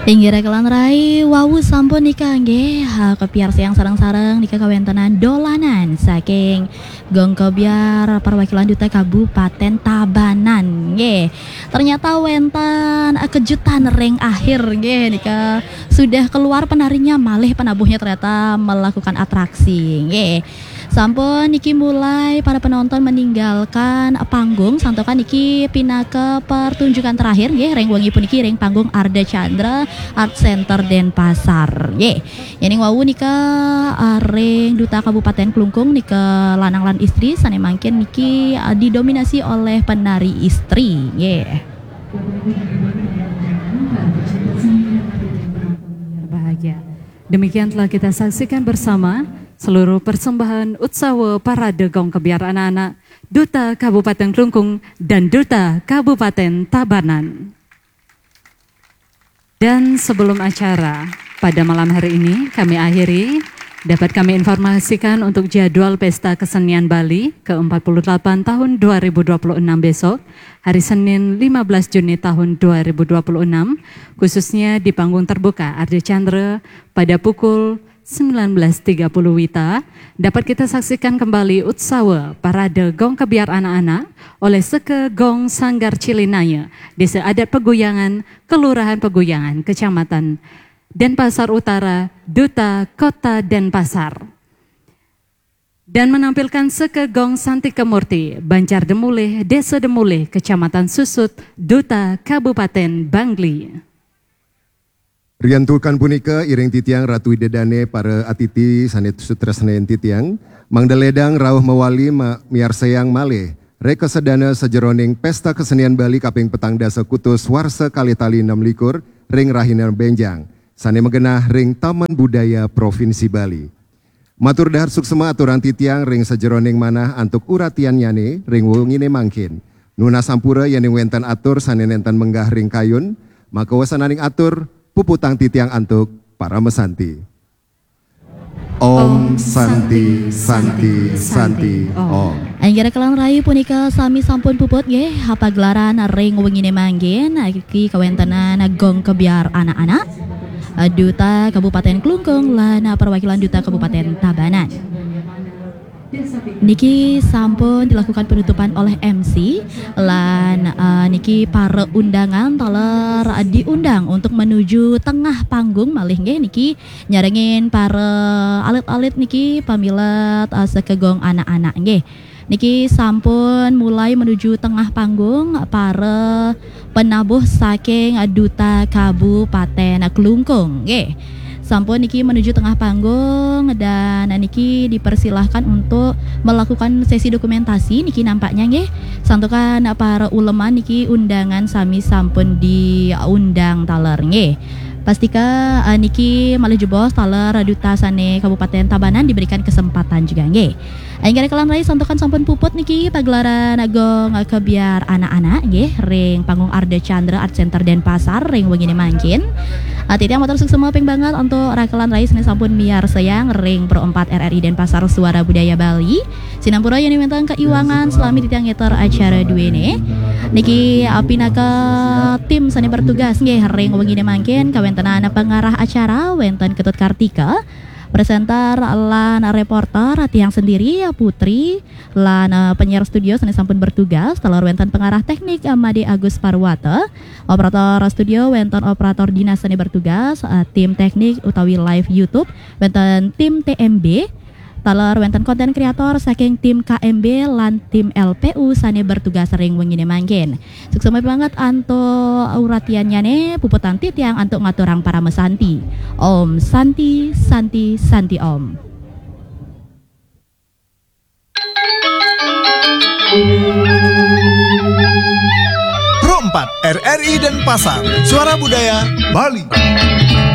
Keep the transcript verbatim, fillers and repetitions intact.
Inggih rakelan rai, wau sampun nika nggih, ha, kapiarsayang sareng-sareng nika kawéntenan dolanan saking Gong Kebyar perwakilan Duta Kabupaten Tabanan nggih. Ternyata wénten, eh, kejutan ring akhir nggih nika, sudah keluar penarinya malih penabuhnya ternyata melakukan atraksi nggih. Sampun niki mulai para penonton meninggalkan panggung, santukan niki pinaka pertunjukan terakhir nggih ring wengi puniki ring panggung Arda Chandra Art Center Denpasar nggih. Yéning wau nika, eh, ring Duta Kabupaten Klungkung nika lanang lan istri sané mangkin niki, eh, didominasi oleh penari istri nggih. Bahagia. Demikian telah kita saksikan bersama seluruh persembahan Utsawa Parade Gong Kebyar Anak-anak, Duta Kabupaten Klungkung dan Duta Kabupaten Tabanan. Dan sebelum acara pada malam hari ini kami akhiri, dapat kami informasikan untuk jadwal Pesta Kesenian Bali ke empat puluh delapan tahun dua ribu dua puluh enam besok, hari Senin lima belas Juni tahun dua ribu dua puluh enam, khususnya di panggung terbuka Arda Chandra pada pukul sembilan belas tiga puluh WITA, dapat kita saksikan kembali Utsawa Parade Gong Kebyar Anak-anak oleh Seke Gong Sanggar Cilinaya, Desa Adat Peguyangan, Kelurahan Peguyangan, Kecamatan Denpasar Utara, Duta Kota Denpasar. Dan menampilkan Seke Gong Santika Murti, Banjar Demulih, Desa Demulih, Kecamatan Susut, Duta Kabupaten Bangli. Riantukan punika, iring titiang Ratu Ida Dane, para atiti sané sutresnain titiang, mangda ledang rauh mawali ma-, miarsayang malih reka sedana sajeroning Pesta Kesenian Bali kaping petang dasa kutus warsa kalih tali enam likur ring rahina bénjang, sané magenah ring Taman Budaya Provinsi Bali. Matur dahar suksma aturang titiang ring sajeroning manah antuk uratiannyané ring wenginé mangkin. Nunas sampura yéning wénten atur sané nénten menggah ring kayun, maka wasananing atur puputang titiang antuk paramasanti. Om Santi, Santi, Santi, Om. Inggih rakelan rai, punika sami sampun puput nggih pagelaran ring wenginé mangkin, niki kawéntenan Gong Kebyar Anak-anak, Duta Kabupaten Klungkung lan perwakilan Duta Kabupaten Tabanan. Niki sampun dilakukan penutupan oleh M C lan, eh, niki para undangan taler diundang untuk menuju tengah panggung malih nggih, niki nyarengin para alit-alit niki pamilet, eh, Seke Gong Anak-anak nggih. Niki sampun mulai menuju tengah panggung para penabuh saking Duta Kabupaten Klungkung nggih. Sampun niki menuju tengah panggung dan niki dipersilahkan untuk melakukan sesi dokumentasi niki nampaknya nggih. Santukan para uleman niki undangan sami sampun diundang taler nggih. Pastika, eh, niki malih jebos taler Duta sané Kabupaten Tabanan diberikan kesempatan juga nggih. Inggih rakelan rai, santukan sampun puput niki pagelaran Gong Kebyar Anak-anak nggih ring panggung Arda Chandra Art Center Denpasar ring wenginé mangkin. Titiang matur suksma ping banget antuk rakelan rai sané sampun miarsayang ring Pro empat R R I Denpasar Suara Budaya Bali. Sinampura yén wénten kaiwangan salami titiang ngéter acara duéné. Niki, ah, pinaka tim sané bertugas nggih ring wenginé mangkin, kawéntenan pengarah acara wénten Ketut Kartika, presenter lan reporter titiang sendiri, Putri, lan, eh, penyiar studio sané sampun bertugas, taler wénten pengarah teknik, eh, Made Agus Parwata, operator studio wénten operator dinas sané bertugas, eh, tim teknik utawi live YouTube wénten tim T M B, taler wénten konten kreator saking tim K M B lan tim L P U sané bertugas ring wenginé mangkin. Suksma banget antuk uratiannyané, puputang titiang antuk ngaturang paramasanti. Om Santi, Santi, Santi Om. Pro empat R R I Denpasar, Suara Budaya Bali.